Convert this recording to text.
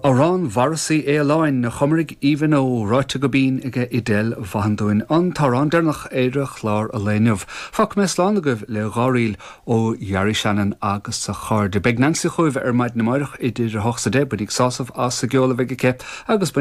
Amhrán Mharasaí Fhaoláin, a chumraigh Aoibhinn Ó, ráite go binn aige Edel Vaughan dúinn, an t-amhrán deireanach ar chlár an lae inniu. Fágfaidh mé slán agaibh le dháríl ó Ghearaí Shannon agus a chairde. Beidh Nancy chugaibh ar maidin amáireach idir 8 's 10, bainigí sásamh as an gceol a bheidh aici agus bainigí.